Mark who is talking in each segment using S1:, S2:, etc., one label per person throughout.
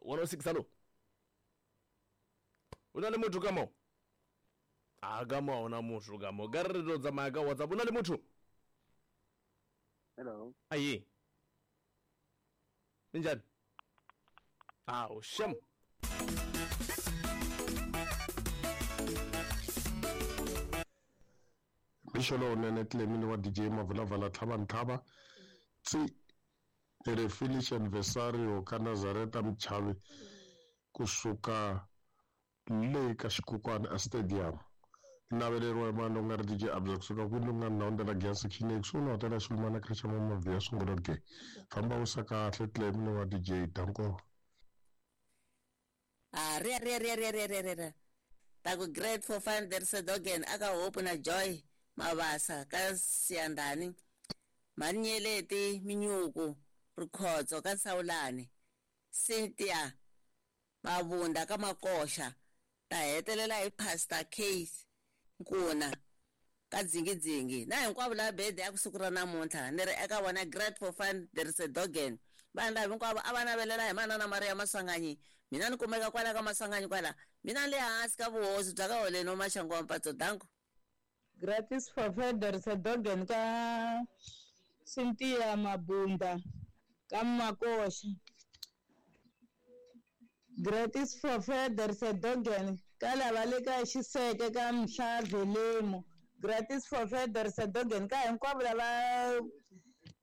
S1: 106 hallo. O na le motho ka mo? A ka mo a ona motho ka mo. Ka re re tlo tsamaya ka WhatsApp. O na le motho?
S2: Hello.
S1: Aye. Njani? Awu, shem.
S3: Mixo lowunene Clemini wa DJ Mavulavala Tlhava Ntlhava tsi ni ri Finish Anniversario ka Nazareta Mchavi kusuka le ka Xikukwana a Stadium. Ni naveleriwa hi mani loko nga ri DJ Abza kusuka kwini loko nga ni na la Giyani Section A kusuhi na hotela ya Xilumana Creche ya Mama Sungula ge. Famba wisa kahle Clemini wa DJ Danko.
S4: Ah, ria ria ria ria ria ria ria. Ta ku great for fun there is a dogen aka Hope na Joy Mabasa ka Siyandani. Manyeleti Minyuku Rikhotso ka Sawulani. Cynthia Mabunda ka Makoxa. Ta hetelela hi Pastor Case Nkuna ka Dzingidzingi. Na hinkwavo lava birthday ya ku siku ra namuntlha ni ri eka vona great for fun there is a dogen. Vanhu lava hinkwavo a va navelela hi manana Maria Maswanganyi. Mina ni kumeka kwala ka Maswanganyi kwala. Mina ni le hansi ka vuhosi bya ka Holeni wa Maxangu wa Mpatso. Danko.
S5: Gratis for fun there is a dogen ka Cynthia Mabunda ka Makoxa. Gratis for fun there is a dogen ka lava le ka Xiseke ka Mhlavelemu. Gratis for fun there is a dogen ka hinkwavo lava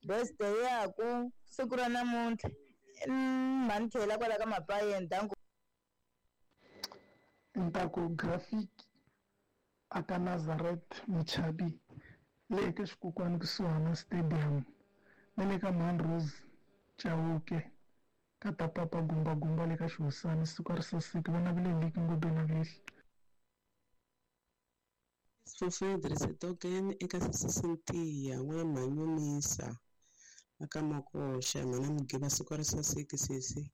S5: birthday yaku siku ra namuntlha. Mhani tlhela kwala ka Mapayeni. Danko.
S6: Ntaku graphic aka Nazareth Mchabi le eka Xikukwana kusuhana Stadium na le ka Mount Rose Chauke ka ta papa gumba gumba le ka Xihosana siku ri saseki va navele liki ngopfu na vihla.
S7: For Frederick Sedogen eka Sisi Cynthia n'wana Mhanyunisa aka Makoxa mhana Mugiba siku ri saseki sesi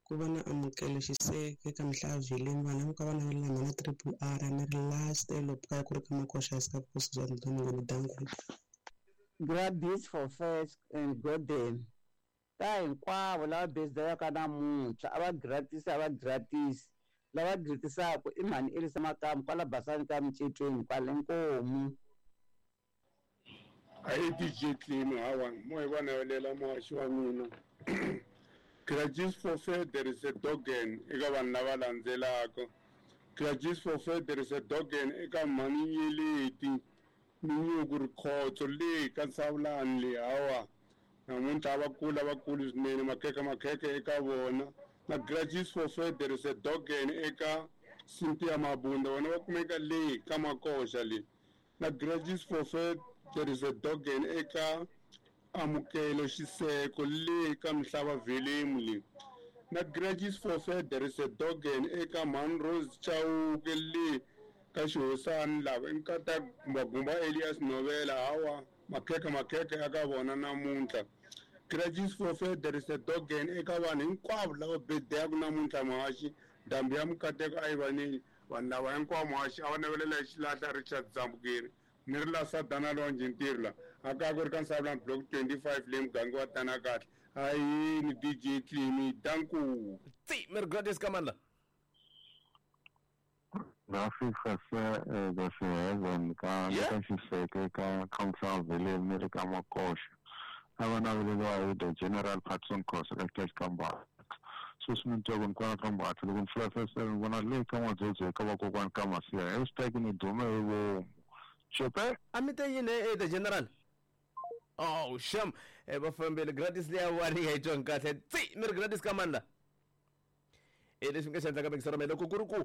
S7: ku va na amukelo Xiseke ka Mhlaveleni vanhu hinkwavo va navelela mhana Triple R ni ri last elopukaya ku ri ka Makoxa hansi ka vukosi bya Mnguni Danko.
S8: Gratis for first and golden ta hinkwavo lava birthday ka namuntlha a va gratis a va gratis lava gratisaka i mhani Elisa Makamu kwala Basani ka Micetweni kwale Nkomu.
S9: Ahi DJ Clemi hawa mo hi va navelela muhaxi wa mina. Gratis for fair there is a dogen eka vanhu lava landzelaka. Gratis for fair there is a dogen eka mhani Nyeleti Minyuku Rikhotso le ka Nsawulani le hawa namuntlha va kula va kulu swinene makhekhe makhekhe eka vona. Na Gratis for fair there is a dogen eka Cynthia Mabunda vona va kumeka le ka Makoxa le. Na Gratis for fair there is a dogen eka Amukelo Xiseko le ka Mhlava Velemu le. Na Gratis for fair there is a dogen eka Mount Rose Chauke le ka Xihosana lava i nkata Gumbagumba Elias Novela hawa makhekhe makhekhe aka vona namuntlha. Gratis for fair there is a dogen eka vanhu hinkwavo lava birthday-aku namuntlha muhaxi ndhambi ya mukateko a yi vaneni vanhu lava hinkwavo muhaxi a va navelela hi xilahla Richard Zambukeri ni ri la Sadana Lonje ntirho la a ka ku ri ka Nsawulani block 25 le muganga wa Tana kahle. Ayini DJ Clemi danku.
S1: Tsi mi ri gratis ka mani la?
S10: Graphic for the heaven ka ka Xiseke ka Council Village ni ri ka Makoxa. A va naveleriwa hi the General Patson Khosa ka Cash Kambata. Sweswi ni twa ku ni kwala ka Mbatha loko ni pfula fense ni vona le ka N'wadzodzo eka vakokwani ka Masiya hashtag ni dume hi vomu. Xope?
S1: A mi te yini e the General? Oh, sham. Va fambile gratis leya wani ya yi twangi kahle. Tsi mi ri gratis ka mani la? Leswi nga xi endlaka mingisero me loko ku ri ku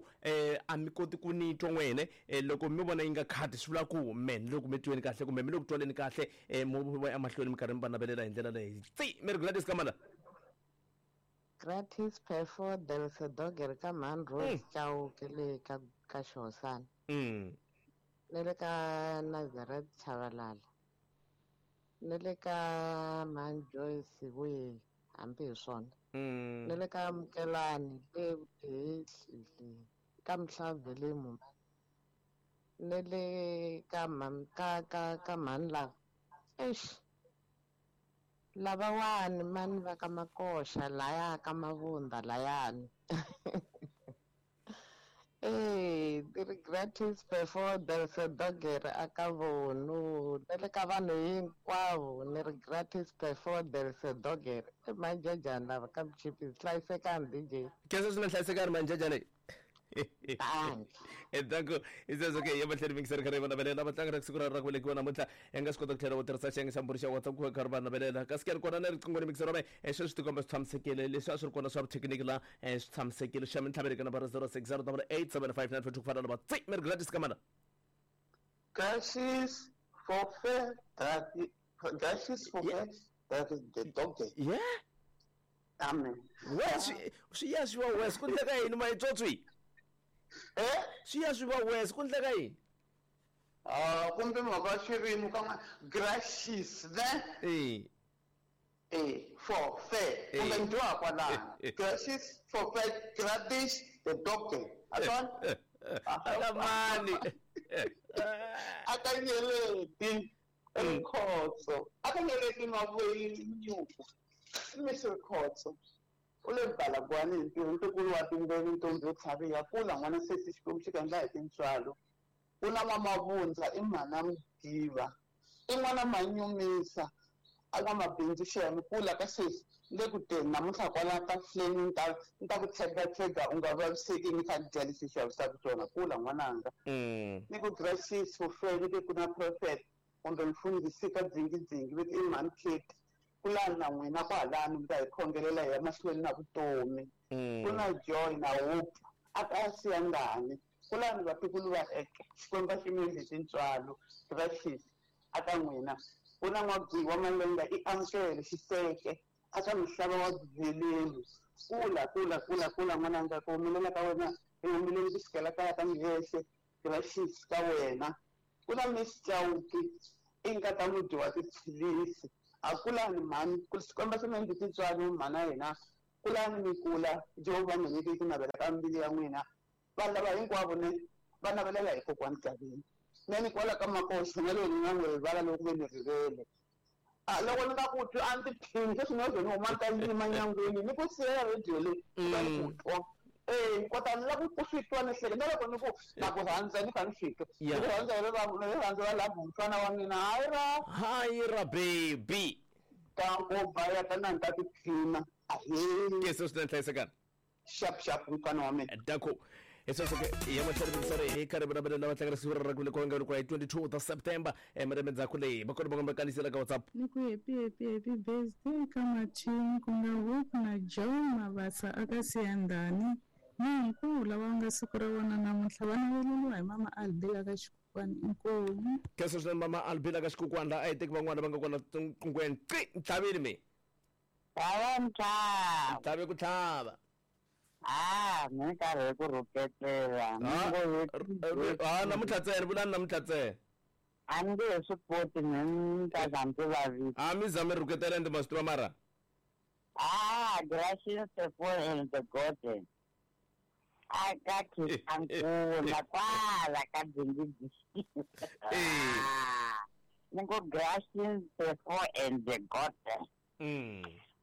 S1: a mi koti ku ni twa n'wene loko mi vona yi nga khadi swi vula ku me ni loko mi tweni kahle kumbe mi le ku twaleni kahle mo va emahlweni mi karhi mi va navelela hi ndlela leyi. Tsi mi ri gratis ka mani la?
S11: Gratis perfo del Sedoger ka Mount Rose Chauke le ka ka Xihosana. Ni le ka Nazareth Chavalala. Ni le ka Mount Joyce wihi hambi hi swona. Ni le ka Mukelani le le ka Mhlavelemu. Ni le ka ka ka ka mhani lava. Eish. Lavawani mani va ka Makoxa laya ka Mavunda layani. Ti ri gratis before there's a dogere aka vonu na le ka vanhu hinkwavo ni ri gratis before there's a dogere i manjejani lava ka Mchipisi hlayisekani DJ.
S1: Khensa swinene hlayisekani manjejani. Danko isezwo ke ya matlhelo mingiseri kha ri va navelela vatlangi ra siku ra ra ku velekiwa namuntlha hi nga swi kota ku tlhela u tirhisa xiyenge xa mbhuri xa WhatsApp ku va kha ri va navelela kasi ke ri kona na riqingho ni mingiseri wa mehe sweswi tikomba swi tshamisekile leswi a swi ri kona swa vuthekiniki la swi tshamisekile xa mintlhavelo ka nambara 060 875 ku fana na va tsi mi ri gratis ka mana.
S2: Gratis for fair gratis for fair that is the dog day.
S1: Yeah.
S2: Amen.
S1: Wes swi ya swi va wes ku ndleka yini mayitswotswi? Swi ya swi va wes ku ndleka yini?
S2: Kumbe mhaka xirimi ka gratis ne? For fair. Kumbe ndwa kwalano. Gratis for fair gratis the dog day. Aswan?
S1: Akamani.
S2: Akanyeleti Rikhotso. Akanyeleti Mavuyini. Mr. Khotso. U le Balagwani ntirho ntukulu wa timbeni ntombi yo tlhariha kula n'wana sesi Xikwembu xi kandla hi tintswalo. Ku na N'wamavundza i mhana Mugiva. I n'wana Manyumisa a n'wamabindzu xiyani kula ka sesi le ku teni namuntlha kwala ka fleni ni ta ku tshega u nga vaviseki ni kha ni dya lexi xavisaka swona kula n'wananga. Ni ku gracious for fair ni ku na prophet kumbe mfundhisi ka dzingidzingi veti i mhani Kate. Kulani na n'wina kwalano mi ta hi khongelela hi ya mahlweni na vutomi. Ku na joy na hope a ka siyangani. Kulani vatukulu va eke Xikwembu a xi mi endli tintswalo gracious aka n'wina. Ku na N'wagwiwa Malenga i amukele xiseke aka misava wa byiveleli. Kula kula kula kula n'wananga ku humelela ka wena hi humeleli ku sukela kaya ka Mhehle gracious ka wena. Ku na Miss Chauke i nkata mudyi wa tiphilisi. Akulani mhani ku Xikwembu xi mi endli tintswalo mhana hina. Kulani mi kula Jehovha mi nyike ku navela ka mbilu ya n'wina. Vanhu lava hinkwavo ne va navelela hi kokwani Gavini. Ne ni kwala ka Makoxa na loko ni nga n'wi rivala loko ve ni rivele. Loko ni nga ku twi a ni tiphini sweswi ni yo ni huma ni ta yima nyangweni ni ku siyela radio leyi ni ku twa. Kota ni lava ku swi twa ni hleke na loko ni ku na ku rhandza ni kha ni swi twa. Ni ku rhandza hi rirhandzu ra love mfana wa mina hayi ra.
S1: Hayi ra baby.
S2: Ta ku ba ya ta na ni ta tiphina. Ahee.
S1: Ke se swi hlayisekana.
S2: Sharp sharp mfana wa mina.
S1: Danko. Isoseke ya matlhelo mingiseri hi karhi va lava tlangela siku ra ku velekiwa nga hi 22 ta September malembe ndzhaku leyi va kona va komba kanisela ka WhatsApp.
S12: Ni ku happy happy happy birthday ka Mathini ku nga Hope na Joy Mabasa aka Siyandhani ni hinkwavo lava nga siku ra vona namuntlha va naveleriwa hi mama Albila ka Xikukwani inkomu.
S1: Khensa swinene mama Albila ka Xikukwani laha a hi teki van'wana va nga kona nqungweni qi ntlhavini mi.
S13: Hawa ntlhava.
S1: Ntlhavi ku tlhava.
S13: Ni karhi ku rhuketela.
S1: Namuntlha ntsena vulani namuntlha ntsena.
S13: A ni nge he swi koti ni ta za ndzi vavisa.
S1: A mi za mi rhuketela ende ma swi tiva mara.
S13: Gracious the poor and the golden. Aka khisankula kwala ka dzingidzi. Ni ngo gracious the poor and the golden.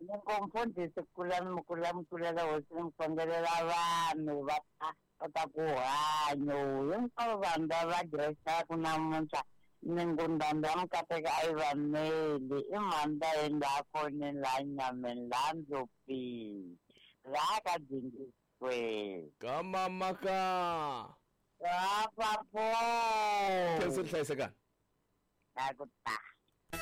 S13: Ni ngo mfundhisi kulani kula mkulela hosi ni khongelela vanhu va kota ku hanya hinkwavo vanhu lava diresaku namuntlha ni ngo ndhambi ya mikateka a yi va meli i mhani la yeni laha fonini laha nyameni laha ndzopini laha ka dzingidzi.
S1: Ka mama ka.
S13: Ka papo.
S1: Khensa hlayisekani.
S13: Na ku ta.